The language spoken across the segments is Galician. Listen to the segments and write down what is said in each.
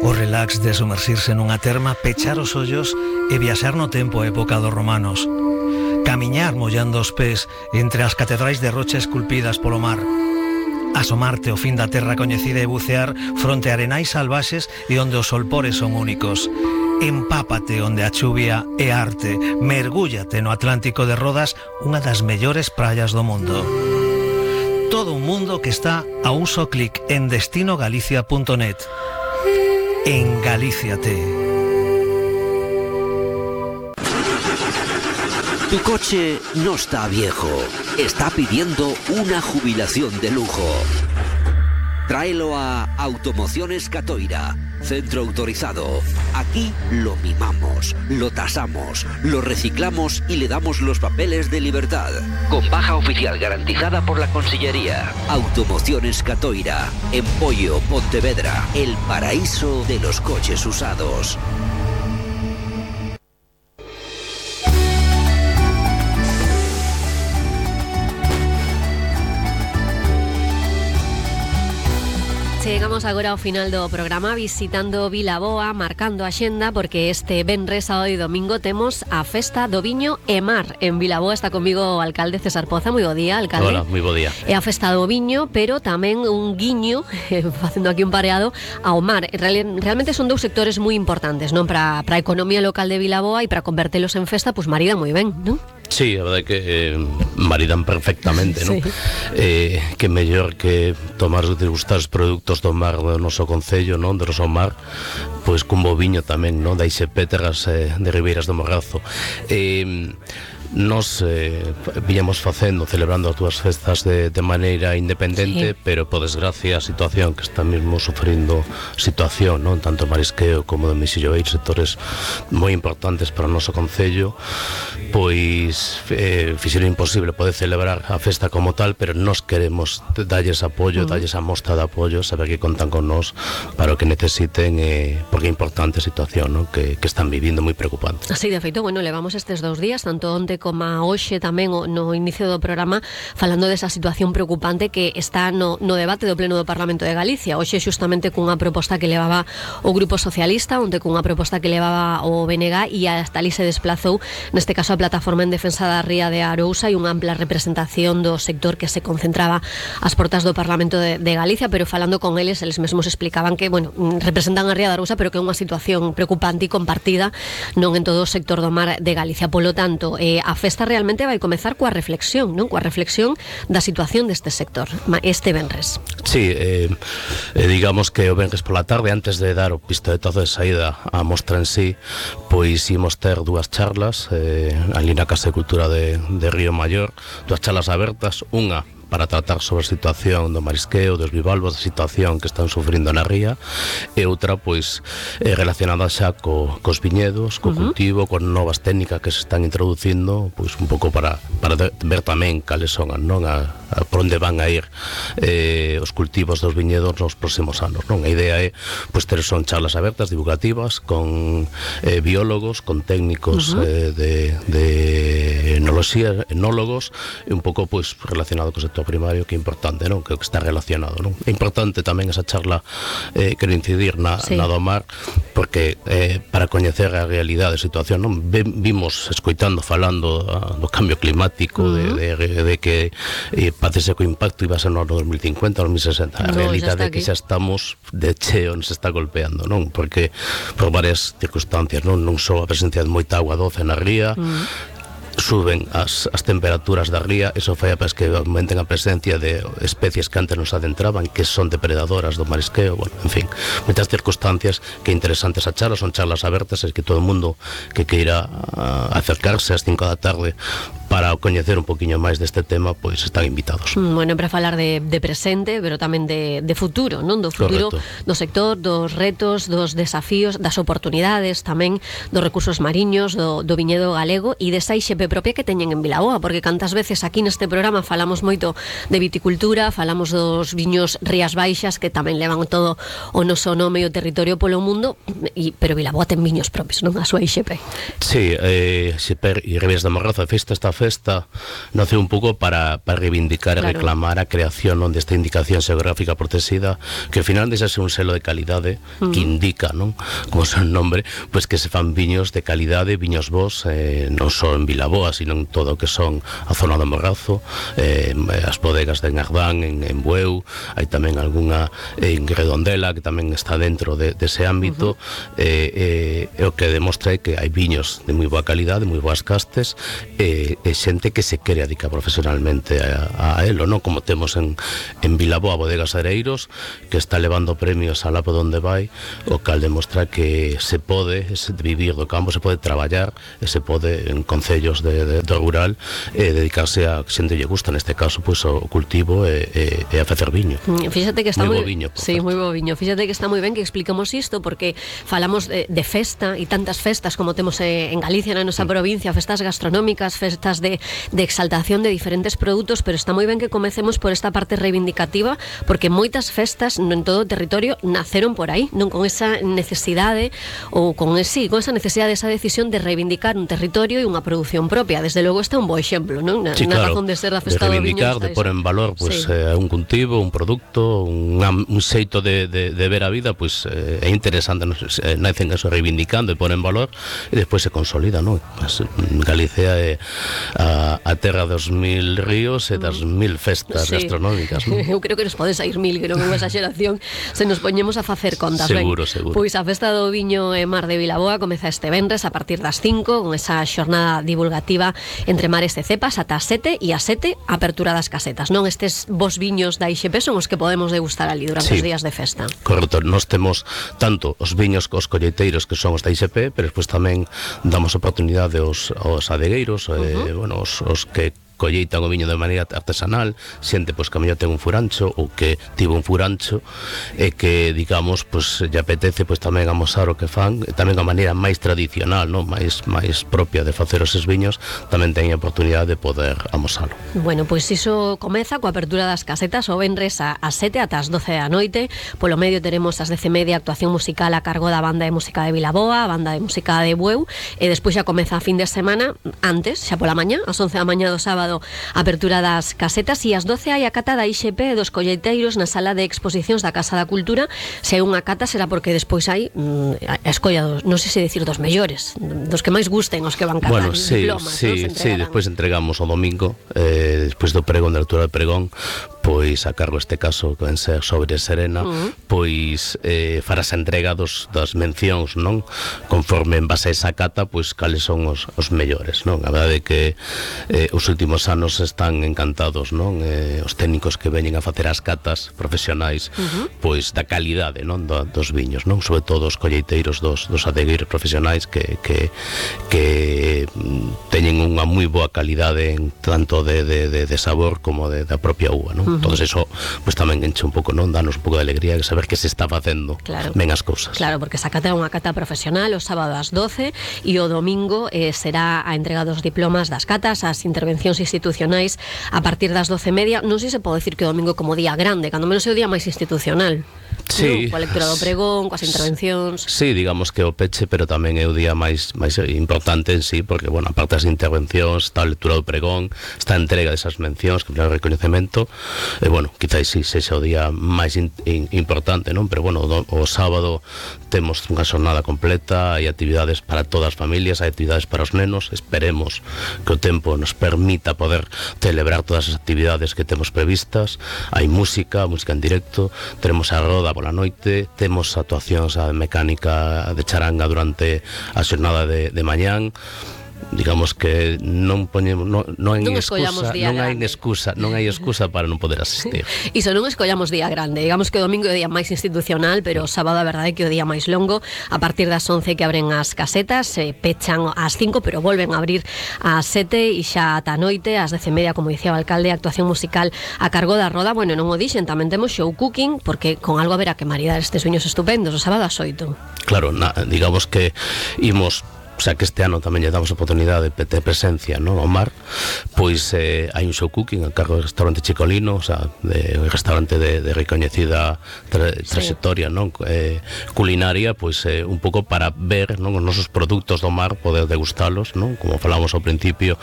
O relax de sumersirse nunha terma, pechar os ollos e viaxar no tempo a época dos romanos. Camiñar mollando os pés entre as catedrais de rocha esculpidas polo mar. Asomarte ao fin da terra coñecida e bucear fronte a arenais salvaxes e onde os solpores son únicos. Empápate onde a chuvia é arte. Mergúllate no Atlántico de Rodas, unha das mellores praias do mundo. Todo un mundo que está a un só clic en destinogalicia.net. En Galíciate. Tu coche no está viejo, está pidiendo una jubilación de lujo. Tráelo a Automociones Catoira, centro autorizado. Aquí lo mimamos, lo tasamos, lo reciclamos y le damos los papeles de libertad. Con baja oficial garantizada por la Consellería. Automociones Catoira, en Pollo, Pontevedra, el paraíso de los coches usados. Chegamos agora ao final do programa visitando Vilaboa, marcando a xenda, porque este venres, sábado e domingo temos a Festa do Viño e Mar en Vilaboa. Está comigo o alcalde César Poza. Moi bo día, alcalde. Hola, moi bo día. É a Festa do Viño, pero tamén un guiño, facendo aquí un pareado, ao mar. Realmente son dous sectores moi importantes, non, para a economía local de Vilaboa, e para convertelos en festa, pois maridan moi ben, non? Sí, a verdade é que maridan perfectamente, non? Sí. Que mellor que tomar e degustar os produtos do mar do noso concello, non? Do noso mar, pois cun bo viño tamén, non? Da Ixepéteras de Ribeiras do Morrazo. Nos viñamos facendo, celebrando as túas festas de maneira independente, sí. Pero por desgracia a situación que está mesmo sufrindo situación, non? Tanto marisqueo como de mexilloeiro, sectores moi importantes para o noso concello, pois fixeron imposible poder celebrar a festa como tal, pero nos queremos dalles apoio, dalles a mostra de apoio, saber que contan con nós para o que necesiten, porque é importante a situación, non? Que están vivindo moi preocupante. Así, de feito, bueno, levamos estes 2 días, tanto onte como hoxe tamén no inicio do programa, falando desa situación preocupante que está no debate do Pleno do Parlamento de Galicia. Hoxe xustamente cunha proposta que levaba o Grupo Socialista, onde cunha proposta que levaba o BNG, e hasta ali se desplazou, neste caso a Plataforma en Defensa da Ría de Arousa, e unha ampla representación do sector que se concentraba ás portas do Parlamento de Galicia, pero falando con eles mesmos explicaban que, bueno, representan a Ría de Arousa, pero que é unha situación preocupante e compartida non en todo o sector do mar de Galicia. Polo tanto, a festa realmente vai comezar coa reflexión, non? Coa reflexión da situación deste sector este venres. Sí, digamos que o venres pola tarde, antes de dar o pistoletazo de saída á mostra en sí, pois imos ter 2 charlas ali na Casa de Cultura de Río Maior, 2 charlas abertas, unha para tratar sobre a situación do marisqueo, dos bivalvos, da situación que están sufrindo na ría, e outra, pois, relacionada xa cos viñedos, co cultivo, con novas técnicas que se están introducindo, pois un pouco para ver tamén cales son, non? Por onde van a ir os cultivos dos viñedos nos próximos anos, non? A idea é, pois, ter son charlas abertas, divulgativas, con biólogos, con técnicos de enoloxía, enólogos, e un pouco, pois, relacionado co sector primario, que é importante, non? Que está relacionado, non? É importante tamén esa charla, quero incidir na do mar, porque para coñecer a realidade da situación, non? Vimos, escoitando, falando do cambio climático, de que parece que o impacto iba a ser no ano 2050, 2060. A realidade é que xa estamos de cheo, nos está golpeando, non? Porque por varias circunstancias, non só a presencia de moita agua doce na ría, suben as temperaturas da ría, eso fai para que aumenten a presencia de especies que antes nos adentraban, que son depredadoras do marisqueo, bueno, en fin, moitas circunstancias que interesantes a charlas, son charlas abertas, e que todo o mundo que queira acercarse ás 5 da tarde para coñecer un poquinho máis deste tema, pois están invitados. Bueno, para falar de presente, pero tamén de futuro, non? Do futuro do sector, dos retos, dos desafíos, das oportunidades tamén, dos recursos mariños, do viñedo galego e desa IXP propia que teñen en Vilaboa, porque cantas veces aquí neste programa falamos moito de viticultura, falamos dos viños Rías Baixas, que tamén levan todo o noso nome e o territorio polo mundo, pero Vilaboa ten viños propios, non? A súa IXP. Sí, IXP e Ribeiras do Morrazo, a festa está festa nace un pouco para reivindicar e reclamar a creación desta indicación xeográfica protegida, que ao final deixa ser un selo de calidade que indica, non, como son nombre, pois que se fan viños de calidade, viños bons, non só en Vilaboa, sino en todo o que son a zona do Morrazo, as bodegas de Nardán, en Bueu, hai tamén algunha en Redondela que tamén está dentro dese ámbito, o que demostra que hai viños de moi boa calidade, moi boas castes, e xente que se quere dedicar profesionalmente a elo, non? Como temos en Vilaboa Bodegas Areiros, que está levando premios alá por onde vai, o cal demostra que se pode vivir do campo, se pode traballar, e se pode en concellos do rural dedicarse a xente lle gusta, neste caso pois o cultivo e a facer viño. Fíxate que está moi bo viño. Sí, moi bo viño. Fíxate que está moi ben que explicamos isto, porque falamos de festa, e tantas festas como temos en Galicia, na nosa provincia, festas gastronómicas, festas de exaltación de diferentes produtos, pero está moi ben que comecemos por esta parte reivindicativa, porque moitas festas en todo o territorio naceron por aí, non con esa necesidade ou con esa necesidade, esa decisión de reivindicar un territorio e unha produción propia. Desde logo este é un bo exemplo, non? Na razón de ser da festa do viño, de pôr en valor un cultivo, un produto, un xeito de ver a vida, pois é interesante, nacen eso reivindicando e pôr en valor, e despois se consolida, non? Galicia é a terra dos 1000 ríos e das 1000 festas gastronómicas, non? Eu creo que nos pode sair 1000, que non é unha exageración, se nos poñemos a facer contas. Seguro. Pois a festa do viño e mar de Vilaboa comeza este venres a partir das 5, con esa xornada divulgativa entre mares e cepas ata as 7, e as 7 apertura das casetas, non? Estes bons viños da IXP son os que podemos degustar ali durante os días de festa. Correcto, nós temos tanto os viños cos colleiteiros, que son os da IXP, pero despois tamén damos oportunidade aos adegueiros, os que colleitan o viño de maneira artesanal, xente pois que a mellor ten un furancho ou que tivo un furancho e que, digamos, pois lle apetece pois tamén amosar o que fan, e tamén a maneira máis tradicional, non? máis propia de facer eses viños, tamén ten a oportunidade de poder amosalo. Bueno, pois iso comeza coa apertura das casetas o venres ás 7 ata as 12 da noite. Polo medio teremos as 10:30 actuación musical a cargo da Banda de Música de Vilaboa, a Banda de Música de Bueu, e despois xa comeza a fin de semana, antes, xa pola mañá, ás 11 da mañá do sábado, apertura das casetas, e ás 12 hai a cata da IXP dos colleiteiros na sala de exposicións da Casa da Cultura. Se hai unha cata será porque despois hai a escolla dos, non sei se decir dos mellores, dos que máis gusten, os que van catar diplomas. Despois entregamos o domingo, despois do pregón, da altura do pregón, pois a cargo este caso que ven ser sobre Serena, pois farás a entrega das mencións, non? Conforme en base a esa cata, pois cales son os mellores, non? A verdade é que os últimos anos están encantados, non? Os técnicos que veñen a facer as catas profesionais, pois da calidade, non? Dos viños, non? Sobre todo os colleiteiros dos adegueiros profesionais que teñen unha moi boa calidade en tanto de sabor como da propia uva, non? Todo eso pues tamén enche un pouco, non? Danos un pouco de alegría de saber que se está facendo ben as cousas. Claro, porque esa cata é unha cata profesional o sábado ás 12 e o domingo será a entrega dos diplomas das catas, as intervencións institucionais a partir das 12:30. Non sei se pode decir que o domingo como día grande, cando menos é o día máis institucional. Sí, coa lectura do pregón, coas intervencións. Sí, digamos que o peche, pero tamén é o día máis importante en sí, porque, bueno, aparte das intervencións, está a lectura do pregón, está a entrega desas mencións, que é o reconhecemento, e, bueno, quizás sí sexa o día máis importante, non? Pero, bueno, o sábado temos unha xornada completa, hai actividades para todas as familias, hai actividades para os nenos, esperemos que o tempo nos permita poder celebrar todas as actividades que temos previstas, hai música en directo, teremos a roda pola noite, temos actuacións a mecánica de charanga durante a xornada de mañán. Digamos que non poñemos non hai excusa para non poder asistir. Iso, non escollamos día grande. Digamos que o domingo é o día máis institucional, pero o sábado a verdade é que é o día máis longo. A partir das 11 que abren as casetas, se pechan ás 5, pero volven a abrir ás 7 e xa ata a noite, ás 10:30, como dicía o alcalde, actuación musical a cargo da Roda. Bueno, non o dixen, tamén temos show cooking, porque con algo haberá que maridar estes viños estupendos o sábado ás 8. Claro, digamos que imos xa que este ano tamén lle damos a oportunidade de presencia, no, ao mar, pois hai un show cooking a cargo do restaurante Chicolino, o sea, un restaurante de recoñecida trayectoria, non, culinaria, pois un pouco para ver, non, os nosos produtos do mar, poder degustalos, non, como falamos ao principio,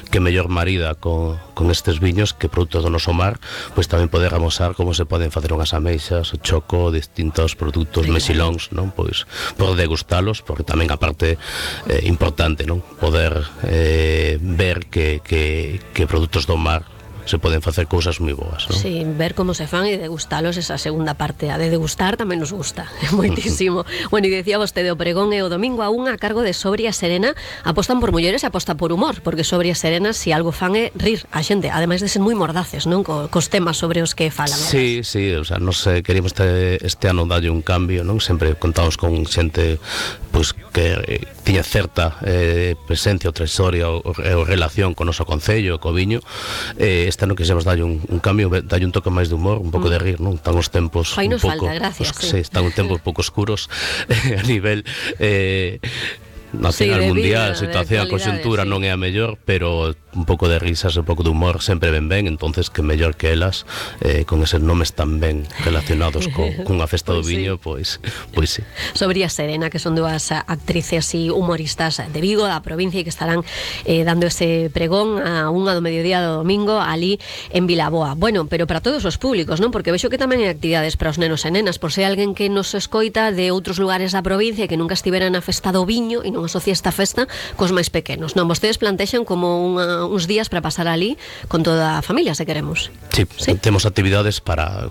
que mellor marida con estes viños que produtos do noso mar, pois tamén poder amosar como se poden facer unhas ameixas, o choco, distintos produtos mexilóns, non, pois por degustalos, porque tamén a parte importante, non, poder ver que produtos do mar se poden facer cousas moi boas, non? Sí, ver como se fan e degustalos, esa segunda parte, a de degustar tamén nos gusta moitísimo. Bueno, e decía vostede, o pregón é o domingo a 1 a cargo de Sobria Serena. Apostan por mulleres e aposta por humor, porque Sobria Serena, si algo fan é rir a xente, ademais de ser moi mordaces, non, cos temas sobre os que falan. Sí, o sea, nos queríamos este ano dalle un cambio, non? Sempre contamos con xente pois que tiña certa presencia ou trayectoria ou relación con o noso concello, co viño. Este ano quixemos dalle un cambio, dalle un toque máis de humor, un pouco de rir, non? Están os tempos un pouco, falta, gracias, sí, están un tempo un pouco oscuros a nivel nacional, mundial, a situación, a conxuntura non é a mellor, pero un pouco de risas, un pouco de humor sempre ben, entonces que mellor que elas con eses nomes tan ben relacionados cunha festa do viño, pois sí. Sobria Serena, que son dúas actrices e humoristas de Vigo, da provincia, e que estarán dando ese pregón a 1 do mediodía do domingo ali en Vilaboa. Bueno, pero para todos os públicos, non? Porque vexo que tamén hai actividades para os nenos e nenas, por se alguén que nos escoita de outros lugares da provincia e que nunca estivera na festa do viño e non asocia esta festa cos máis pequenos, non? Vostedes plantexan como uns días para pasar ali con toda a familia, se queremos. Sí, temos actividades para